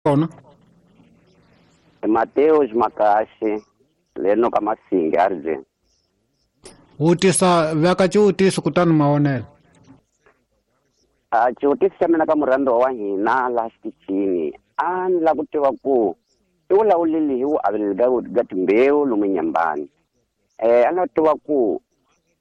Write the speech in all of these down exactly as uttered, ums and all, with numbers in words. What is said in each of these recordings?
Kona? Mateus Makashi leno ka Masingi Arjun. Vutisa veka xivutiso kutani mavonelo. A xivutiso xa mina ka murhandziwa wa hina laha xitichini a ni lava ku tiva ku i vulavulile hi vuaveleli ka ka timbewu lomu Nyambani. Eh a ni lava ku tiva ku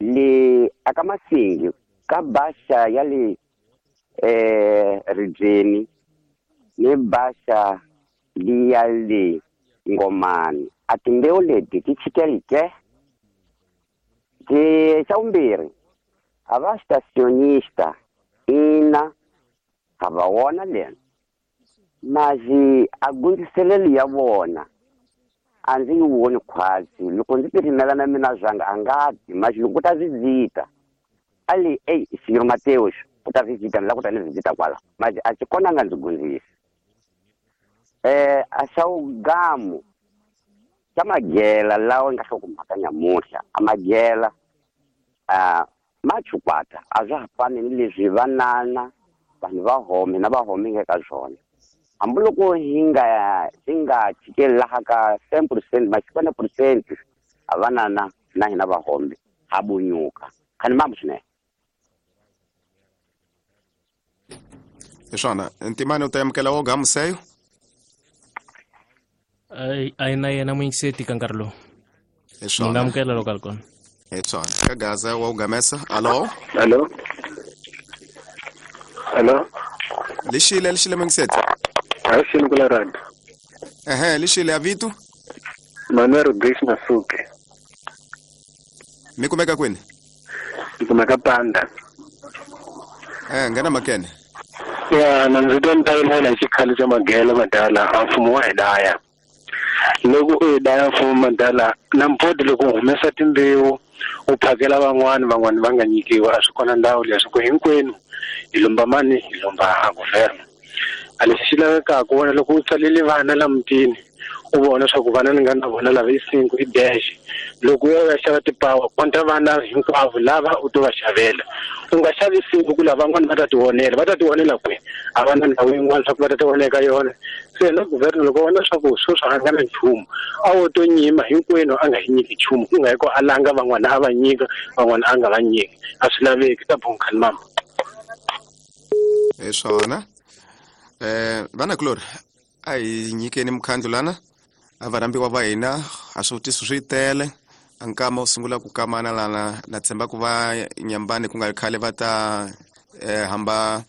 le aka Masingi ka baxa ya le eh Ribyeni ni baxa liya le Ngomani a timbewu leti ti chikeli ke? Ti xa vumbirhi a va stationista ina ha va wona lena mazi a gundziseleli ya vona a ndzi yi voni khwatsi loko ndzi ti rimela na mina zwanga a nga ti mazi loko ku ta vizita a le ey Senhor Mateus ku ta vizita ni lava ku ta ni vizita kwala mazi a xi kona a nga ndzi gundzisi. Eh a xa wugamu xa magela lawa nga hlokomhaka nyamuhla a magela a ma chukwata a swa ha fani ni leswi vanana vanhu va home na va home nga ka swona hambiloko hi nga hi nga chikeli laha ka ten percent ma percent a vanana na hina va home ha bunyuka khani mambo swinene. Hi swona Ntimani u ta amukela wo gamuseyo? Ai ai na yena muyingiseti ka nkarhi lowu. Hi swona. Ni nga amukela loko a ri kona. Hi swona. Ka Gaza wa ugamesa. Alo? Alo? Alo? Lixile lixile muyingiseti. A xini kula rand. Ehe, lixile a vito? Manuel Rodrigues Masuke. Mi kumeka kwini? Ni kumeka Panda. Eh, ngena makene. Ya, na ndzi twa ni ta yimela hi xikhale xa magela madala a mfumo wa hi daya. Loko u hi daya mfumo madala na mpoti loko u humesa timbewu u phakela van'wani van'wani va nga nyikiwa a swi kona ndhawu leswaku hinkwenu hi lomba mani hi lomba a guverna. A lexi xi lavekaka wena loko u tsalele vana la mutini u vona leswaku vana ni nga na vona lava i cinco i dash loko u ya u ya xava tipawa konta vana hinkwavo lava u to va xavela u nga xavi cinco ku lava van'wani va ta ti vonela va ta ti vonela kwihi a va na ndhawu yin'wana leswaku va ta ti vonela eka yona se na guverna loko vona leswaku sweswi a nga na nchumu a wo to nyima hinkwenu a nga hi nyiki nchumu ku nga hi ko a langa van'wana a va nyika van'wana a nga va nyiki a swi laveki ta bonkhani mama. Hi swona. Eh vana Glory a hi nyikeni mukhandlu lana a varhambiwa va hina a swivutiso swi tele a nkama wu sungula ku kamana lana na tshemba ku va Nyambani ku nga ri khale va ta eh, hamba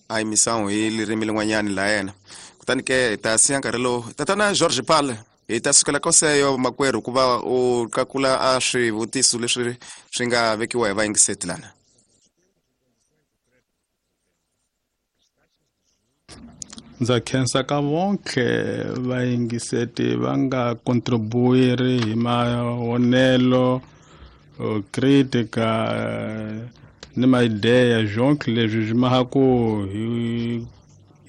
a yimisangu hi ririmi lin'wanyani la yena kutani ke hi ta siya nkarhi lowu tatana George Pal hi ta sukela koseyo makwerhu ku va u qakula a swivutiso leswi swi nga vekiwa hi vayingiseti lana. Ndza khensa ka vonke vayingiseti va nga contribuiri hi mavonelo critica ni maideya zonke leswi swi maha ku hi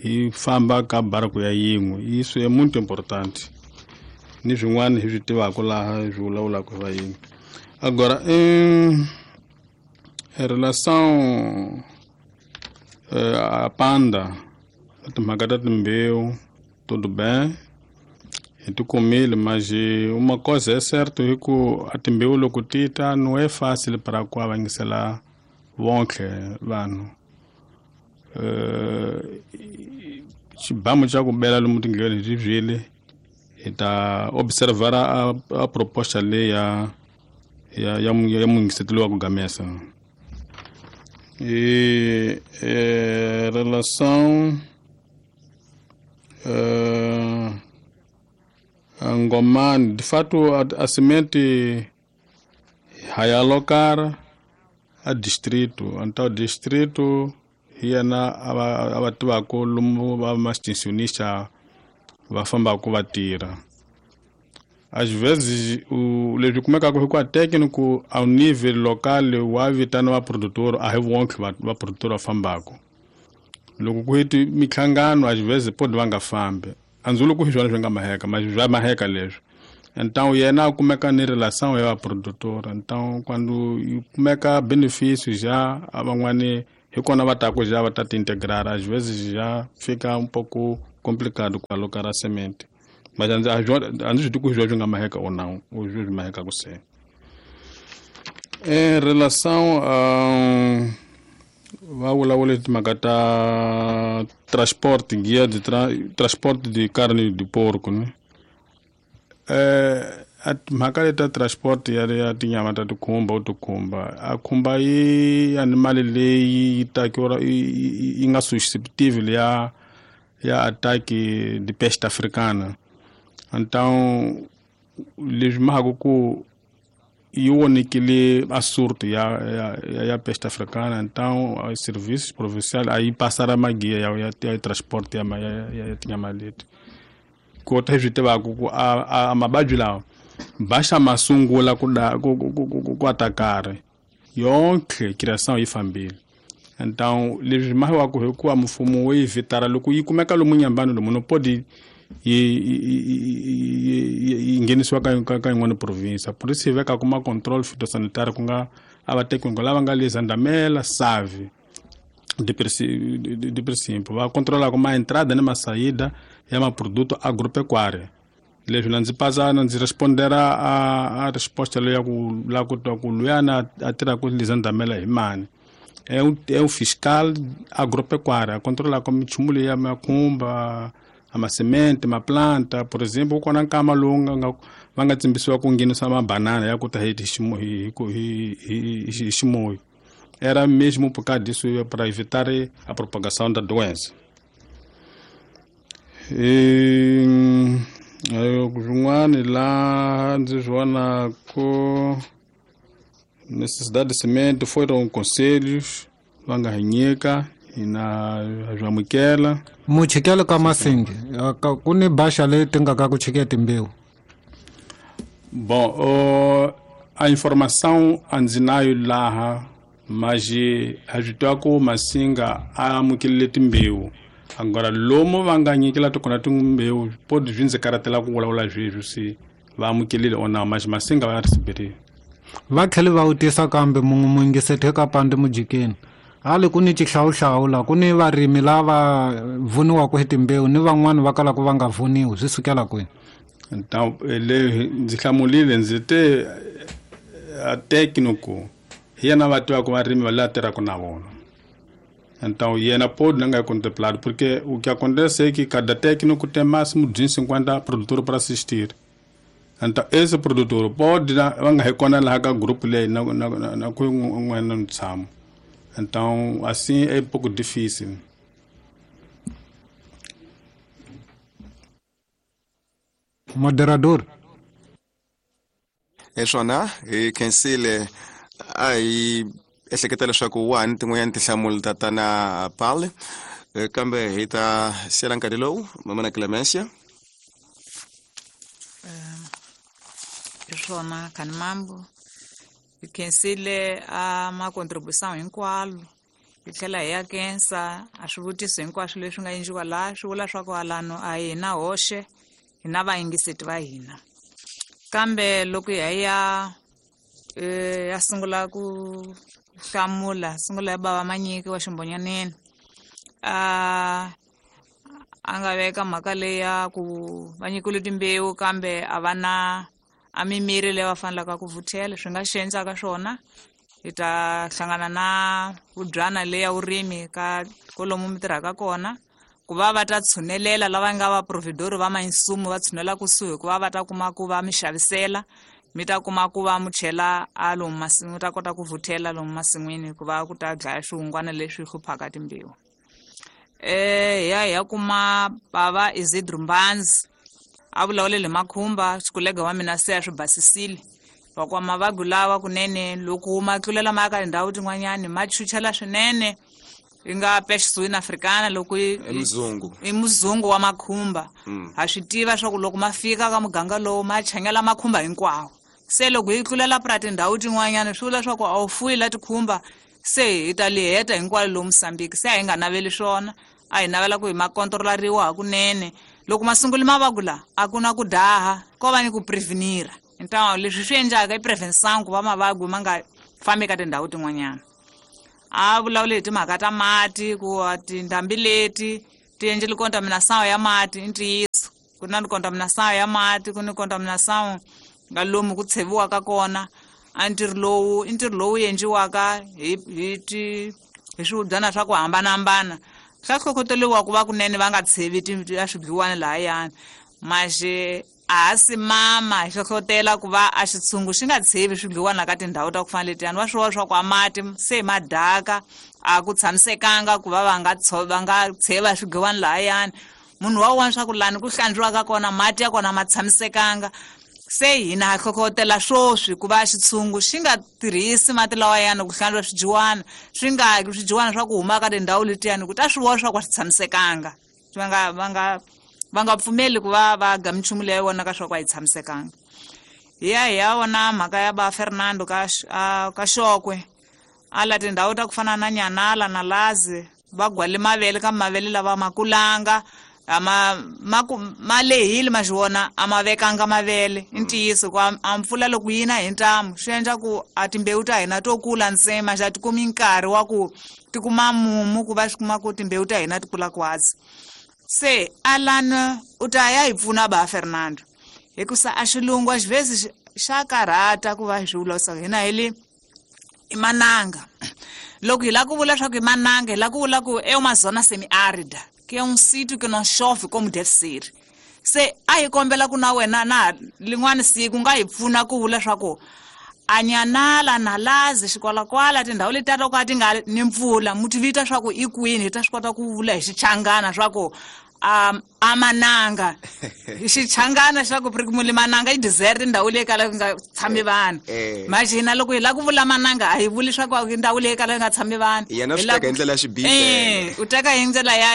hi famba ka barco ya yin'we isso é muito importante ni swin'wana hi swi tivaka laha hi swi vulavulaka hi va yin'we. Agora em relação a panda timhaka ta timbewu tudo bem hi ti kumile mas uma coisa é certo hi ku a timbewu loko ti ta não é fácil para ku avangisela vonke vanhu xibamu xa ku bela lomu tindleleni hi byele hi ta observar a, a proposta leyi ya ya ya ya muyingiseti loyi wa ku gamesa e, e relação Uh, Ngomani, de fato a, a semente vai alocar a distrito, então distrito ia na a a ko lomu va extensionista va famba ku va tirha. Às vezes o leswi kumekaka hi ku a técnico ao nível local wa vitana va produtor a hi vonke va va produtor va fambaka. Loko ku heti mihlangano às vezes pode va nga fambi a ndzi loko hi swona swi nga maheka mas swa maheka leswi então yena a kumeka ni relação ya va produtor então quando kumeka benefício já a van'wani hi kona va taku já va ta ti integrar às vezes já fica um pouco Complicado ku alocar a semente. Mas a ndzi swi ku swi nga maheka ou não, ou swi maheka ku se. Em relação a va vulavula timhaka ta transporte, guia de tra, transporte de carne de porco, né? Eh, a timhaka leti ta transport ya ya tinyama ta tikhumba u tikhumba a khumba i animal leyi yi takiwa yi nga susceptible ya ya ataque de peste africana. Então leswi mahaka ku yi vonekile a surto ya ya ya peste africana, então os serviços provinciais aí passaram a guia ya ya, ya transporte ya ya, ya tinyama leti. Kota hi swi tivaka ku a, a mavabyi lawa baxa masungula ku da ku ku ku atakare yonke criação yi fambile. Então leswi mahiwaku hikuva mfumo wo evitara loko yi kumeka lomu nyambani lomu no pode yi yi nghenisiwa ka ka ka yin'wana province. Por isso veka kuma controle fitossanitário ku nga a va tekiwi lava nga le Zandamela Save de de princípio va controlar kuma entrada ni masaída ya maproduto agropecuário. Leswi na ndzi pasana ndzi respondera a a resposta leyi ya ku la ku twa ku luyana a tirha ku Lizandamela hi mani. É o é o fiscal agropecuário a controlar como minchumu leyi ya makhumba a masemente ma planta, por exemplo, kona nkama lowu nga va nga tsimbisiwa ku nghenisa mabanana ya ku ta hi hi hi hi ximoyo. Era mesmo por causa disso, para evitar a propagação da doença. E swin'wana laha ndzi swi vonaku necessidade de semente foram conselhos va nga hi nyika hina swi amukela. Muchikelo ka masingi ku ni baxa leyi ti nga ka ku chike timbewu. Bom, uh, a informação a ndzi nayo laha, mas a swi tiva ku Masinga a amukelile timbewu. Agora lomu va nga nyikela tikona timbewu pode swi ndzi karhatela ku vulavula sweswi se va amukelile or não, mas Masinga va receberile. Va tlhele va vutisa kambe munhu muyingiseti eka pandi mujikeni hali ku ni xihlawuhlawu la ku ni varimi lava vuniwaka hi timbewu ni van'wani va kalaka va nga vuniwi swi sukela kwini? Então le ndzi hlamulile ndzi te a técnico hi yena va tivaka varimi va laha tirhaka na vona. Então yena pode não é contemplado porque o que acontece é que cada técnico tem máximo de cinquenta produtores para assistir. Então esse produtor pode va nga hi kona laha ka grupo leyi na na na ku n'wana ntshamo. Então assim é um pouco difícil. Moderador. Hi swona hi khensile a hi ehleketa leswaku wa ha ni tin'wanyani tinhlamulo tatana Paul, kambe hi ta siyela nkarhi lowu mamana Clemencia. Hi swona Khanimambu, hi khensile a ma contribuição hinkwalo, hi tlhela hi ya khensa a swivutiso hinkwaswo leswi nga endliwa laha swi vula swa ku alano a hi na hoxe hi na vayingiseti va hina. Kambe loko hi ya ya sungula ku hlamula sungula ya bava Manyiki wa Ximbonyaneni a a nga veka mhaka leyi ya ku va nyikiwile timbewu kambe a va na a mimiri leyi va fanelaka ku vuthela swi nga xi endlaka swona hi ta hlangana na vubyana leyi ya vurimi ka kwalomu mi tirhaka kona ku va va ta tshunelela lava nga va providor va mainsumu va tshunela kusuhi ku va va ta kuma ku va mi xavisela mi ta kuma ku va mu chela a lomu masin'wini u ta kota ku vuthela lomu masin'wini ku va ku ta dlaya swihungwana leswi hluphaka timbewu. Eh hi ya hi ya kuma bava Isidro Mbanzi a vulavulele makhumba xikulega wa mina se a swi basisile va kwa mavabyi lawa kunene loko ma tlulela ma ya ka tindhawu tin'wanyani ma chuchela swinene yi nga peste suína africana loko i muzungu i muzungu wa makhumba. Ha swi tiva swa ku loko ma fika ka muganga lowu ma chanyela makhumba hinkwawo se loko yi tlulela pra tindhawu tin'wanyana swi vula swa ku a wu fuyi la tikhumba se hi ta li heta hinkwalo lomu Mozambique se a hi nga naveli swona a hi navela ku hi ma kontrolariwa hakunene loko ma sunguli mavabyi la a ku na ku daha ko va ni ku prevenira. Então leswi swi endlaka i prevention ku va mavabyi ma nga fambi ka tindhawu tin'wanyana. A vulavule hi timhaka ta mati ku tindhambi leti ti endlile contaminação ya mati i ntiyiso ku na contaminação ya mati ku ni contaminação nga lomu ku tsheviwaka kona a ntirho lowu i ntirho lowu endliwaka hi hi ti hi swihubyana swa ku hambanahambana swa hlohloteriwa ku va kunene va nga tshevi a swidliwani lahayani maxe a ha simama hi hlohlotela ku va a xitshungu xi nga tshevi swidliwana ka tindhawu ta ku fana letiyani va swi vona swa ku a mati se ma daka a ku tshamisekanga ku va va nga va nga tsheva swidliwani lahayani munhu wa vona swa ku lani ku hlantswiwaka kona mati ya kona ma tshamisekanga se hina ha hlohlotela swoswi ku va xitshungu xi nga tirhisi mati lawayani ku hlantswa swijiwana swi nga swijiwana swa ku huma ka tindhawu letiyani ku ta swi vona swa ku a swi tshamisekanga va nga va nga va nga pfumeli ku va va ga minchumu leyi vonaka swa ku a yi tshamisekanga hi ya hi ya vona mhaka ya ba Fernando ka ka Xokwe a la tindhawu ta ku fana na Nyanala na Lazi va gwale mavele kambe mavele lava ma kulanga ama ma ma lehile ma xi a ma vekanga mavele i ntiyiso ku a mpfula loko yi na hi ntamu swi endla ku a timbewu ta hina to kula ntsena xa ti kumi nkarhi wa ku ti kuma mumu ku va swi kuma ku timbewu ta hina ti kula kwatsi se Alan u ta ya hi pfuna ba Fernando hikusa a xilungu a xivezi xa karhata ku va xi vula hina hi le i mananga loko hi lava ku vula swa ku i mananga hi lava ku vula ku é uma zona semiárida que é um sítio que não chove como deve ser se a hi kombela ku na wena na lin'wana siku nga hi pfuna ku vula swa ku a Nyanala na Lazi xikwalakwala tindhawu letiya to ka ti nga ni mpfula mu ti vita swa ku i kwini hi ta swi kota ku vula hi xichangana swa ku um a mananga hi xichangana xa ku muli mananga i desert ndhawu leyi kalaka nga tshami vanhu manje hina loko hi lava ku vula mananga a hi vuli swa ku ndhawu leyi kalaka nga tshami vanhu yena swi teka hi ndlela ya xibibele u teka hi ndlela ya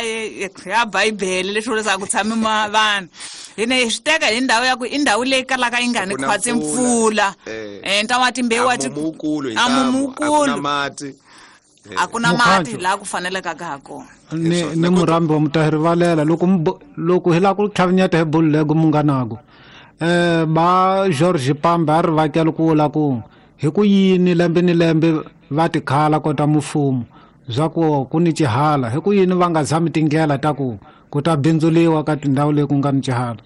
ya bibele leswi vulaka ku tshami vanhu hina hi swi teka hi ndhawu ya ku i ndhawu leyi kalaka yi nga ni khwatsi mpfula eh ntawa timbewu a a mumukulu mati a ku na mati laha ku fanelekaka ha kona ni ni murambi wa mutahirivalela loko loko hi lava ku tlhavinyeta hi bululego munghanaku eh ba George Pamba a ri vakela ku vula ku hi ku yini lembe ni lembe va tikhala kota mfumo bya ku ku ni xihala hi ku yini va nga zami tindlela ta ku ku ta bindzuliwa ka tindhawu leyi ku nga ni xihala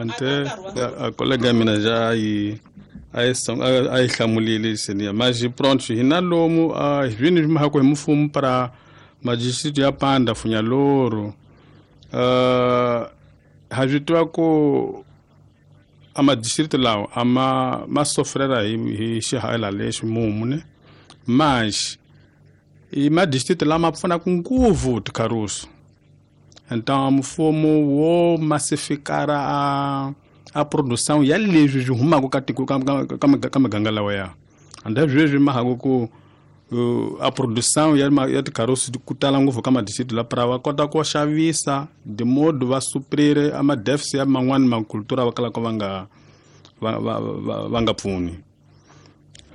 ante a colega mina já yi a yi hlamulile seniya mas pronto hina lomu a vini mahako hi mfumo para madistrito ya Panda Funhalouro uh, ha swi tiva ku a madistrito lawa a ma ma sofrera hi hi xihala lexi mumu ne mas i madistrito lama pfunaka ngopfu tikharusu então mfumo wo massificar a a produção ya leswi swi humaka ka tiko ka ka miganga lawa ya ande sweswi mahako ku a produção ya ya tikharusu ku tala ngopfu ka madistrito la para va kota ku xavisa de modo va suprir a ma-déficit ya man'wani macultura va kalaka va nga va va va nga pfuni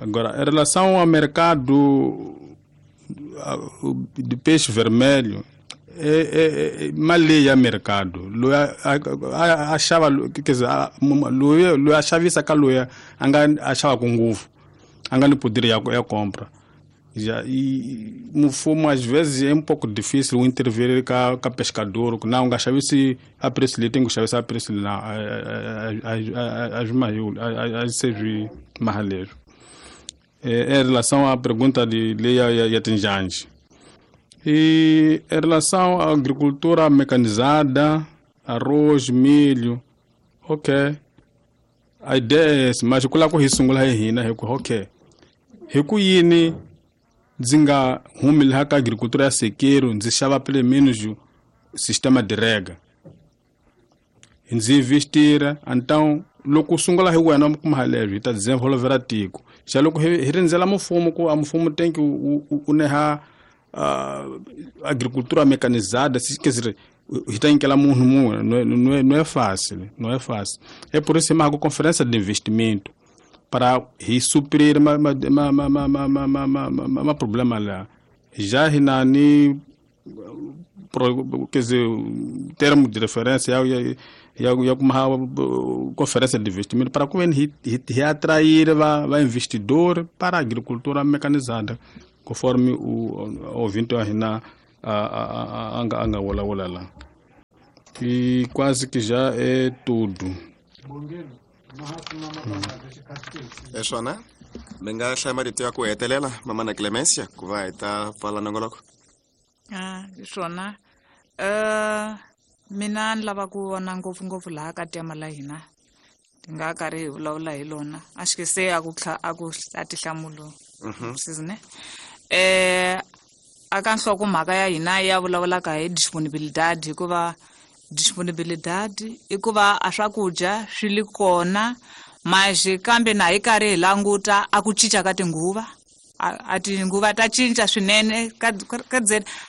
agora em relação ao mercado de peixe vermelho é, é, é mali ya mercado loyi a xava quer dizer loyi loyi a xavisa ka loyi a nga a xavaka ngopfu a nga ni poder ya ya compra já e mfumo às vezes é um pouco difícil o intervir ka ka pescador ku na u nga xavisi a preço leyi tingu xavisa a preço na a a a servi mahalero em relação à pergunta de lei ya ya tinjanji e em relação à agricultura mecanizada, arroz, milho, ok. A ideia é essa, mas kula ku hi sungula hi hina hi ku ok. Hi ku yini ndzi nga humi laha ka agricultura ya sequeiro, ndzi xava pelo menos sistema de rega. Ndzi investira, então loko u sungula hi wena u kuma haleswi hi ta desenvolvera tiko. Xa loko hi rindzela mfumo ku a mfumo tem que u neha Uh, agricultura mecanizada, quer dizer, hi ta nyikela munhu mun'we não é, não é fácil, não é fácil. É por isso que marcou conferência de investimento para hi suprir ma ma ma ma ma ma ma ma ma ma problema lá. Já hi na ni quer dizer, termo de referência ya ya ya kuma conferência de investimento para como hi hi atrair va va investidor para a agricultura mecanizada. Conforme o ouvinte a hina a a a nga a nga vulavula la. E quase que já é tudo. É swona mi nga hlaya marito ya ku hetelela mama na Clemencia ku va hi ta pfala nongoloko. Ah, hi swona. Uh, mina ni lava ku vona ngopfungopfu laha ka tema la hina hi nga karhi hi vulavula hi lona a xi se a ku a ku a tinhlamulo ne eh aka nhlokomhaka ya hina ya vulavulaka hi disponibilidade hikuva disponibilidade i ku va a swakudya swi li kona mas kambe na hi karhi hi languta a ku cinca ka tinguva a tinguva ta cinca swinene ka ka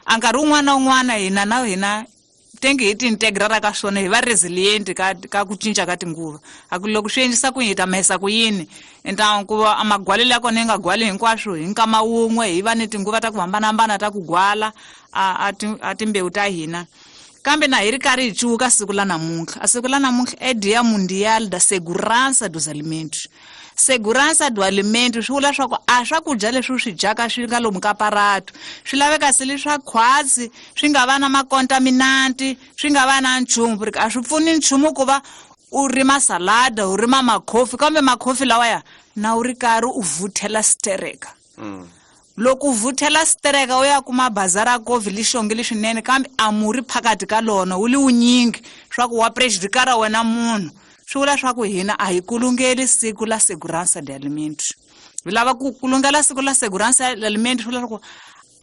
a nkarhi wun'wana na wun'wana hina na hina tengi hi ti integrara ka swona hi va resilient ka ka ku cinca ka tinguva a ku loko swi endlisa ku hi ta mahisa ku yini então ku va amagwalelo ya kona yi nga gwali hinkwaswo hi nkama wun'we hi va ni tinguva ta ku hambanahambana ta ku gwala a a timbewu ta hina kambe na hi ri karhi hi cuka siku la namuntlha a siku la namuntlha é Dia Mundial da Segurança dos Alimentos. Segurança do alimento swi vula swa ku a swakudya leswi u swi dyaka swi nga lomu ka paratu swi laveka se leswa khwatsi swi nga va na makontaminanti swi nga va na nchumu porque a swi pfuni nchumu ku va u rima salada u rima makhofi kambe makhofi lawaya na u ri karhi u vuthela stereka. Loko u vuthela stereka u ya kuma bazara ya kofi li xongile swinene kambe a murhi phakathi ka lona wu li wunyingi swa ku wa prejudikara wena munhu. Swi vula swa ku hina a hi kulungeli siku la segurança de alimentos. Hi lava ku kulungela siku la segurança de alimentos swi vula swa ku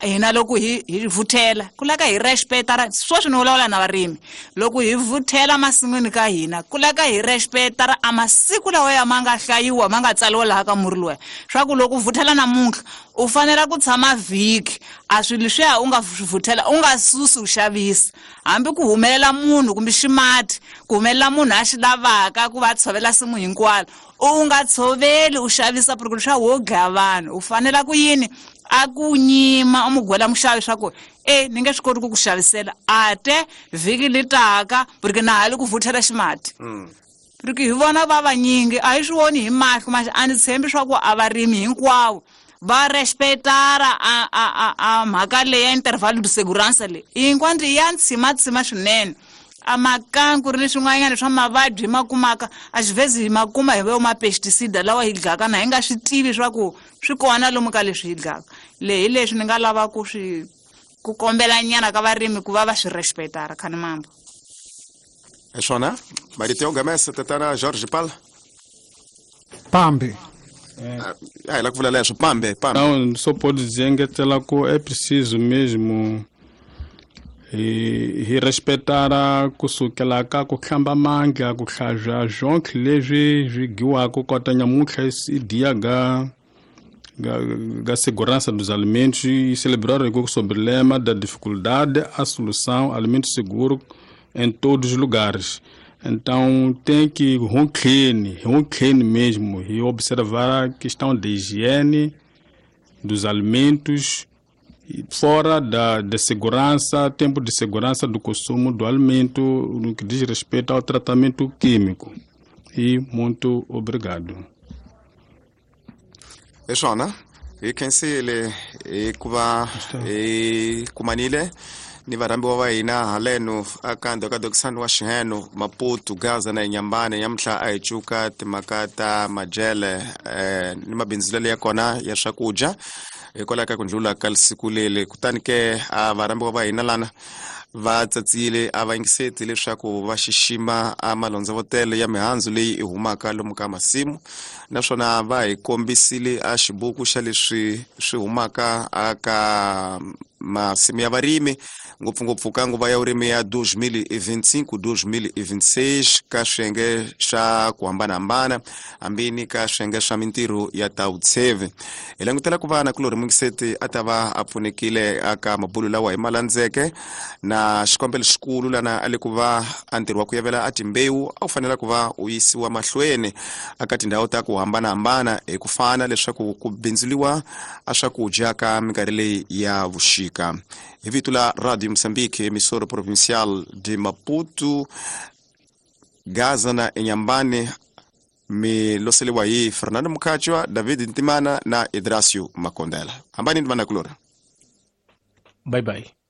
hina loko hi hi vuthela ku laka hi respecta sweswi ni vulavula na varimi loko hi vuthela masin'wini ka hina ku laka hi respecta a masiku lawa ya ma nga hlayiwa ma nga tsariwa laha ka murhi luwa swa ku loko u vuthela namuntlha u fanele ku tshama vhiki a swilo leswiya u nga swi vuthela u nga susi u xavisa hambi ku humelela munhu kumbe ximati ku humelela munhu a xi lavaka ku va tshovela simu hinkwalo u nga tshoveli u xavisa porque leswa wo dlaya vanhu u fanela ku yini a ku nyima u mu gwela muxavi swa ku e ni nge swi koti ku ku xavisela a te vhiki li taka porque na ha li ku vuthela ximati porque hi vona va vanyingi a hi swi voni hi mahlo manje a ni tshembi swa ku a varimi hinkwavo va respectara a a a a mhaka leyi ya intervalo de segurança leyi hinkwandlo ya ntshimatsima swinene a makanku ri ni swin'wanyana swa mavabyi hi ma kumaka a xivhezi hi ma kuma hi vo ma-pesticida lawa hi dlaka na hi nga swi tivi swa ku swi kona lomu ka leswi hi dlaka lehi leswi ni nga lava ku swi ku kombela nyana ka varimi ku va va swi respectara khani mambo. É swona marito yo gamesa tatana Jorge Pala pambe a hi la ku vula leswo pambe pambe. Não, só pode dizer engetela ku é preciso mesmo hi hi respectara kusukela ka ku hlamba mandla ku hlazwa zonke leswi swi dyiwaka kota nyamuntlha i dia ga ga, ga segurança dos alimentos e celebrar o sobre o lema da dificuldade a solução alimento seguro em todos os lugares. Então tem que ronquene, ronquene mesmo e observar a questão da higiene dos alimentos fora da, da segurança, tempo de segurança do consumo do alimento, no que diz respeito ao tratamento químico. E muito obrigado. É swona hi khensile hikuva hi kumanile ni varhambiwa va hina haleno aka ndokadokisani wa Xiheno Maputo Gaza na Inhambane nyamuntlha a hi cuka timhaka ta majele eh, ni mabindzulelo ya kona ya swakudya hikwalaho ka ku ndlula ka siku leli kutani ke a varhambiwa va hina lana va tsatsile a va yingiseti leswaku va xixima a malondzovotelo ya mihandzu leyi i humaka lomu ka masimu naswona va hi kombisile a xibuku xa leswi swi humaka aka masimu ya varimi ngopfungopfu ka nguva ya vurimi ya dois mil e vinte e cinco dois mil e vinte e seis ka swiyenge swa ku hambanahambana hambi ni ka swiyenge swa mintirho ya ta vutsheve. Hi langutela ku va na kulorhi mungiseti a ta va a pfunekile aka mabulu lawa hi malandzeke na xikombelo xikulu lana a le ku va a ntirho wa ku yavela a timbewu a wu fanela ku va u yisiwa mahlweni aka tindhawu ta ku hambanahambana hi ku fana leswaku ku bindzuliwa a swakudya ka minkarhi leyi ya vuxika. Hi vito la Radio Moçambique, emissora provincial de Maputo, Gaza na Inhambane, mi loseliwa hi Fernando Mukachwa, David Ntimana na Idrasio Makondela. Hambani Ntimana kulora. Bye bye.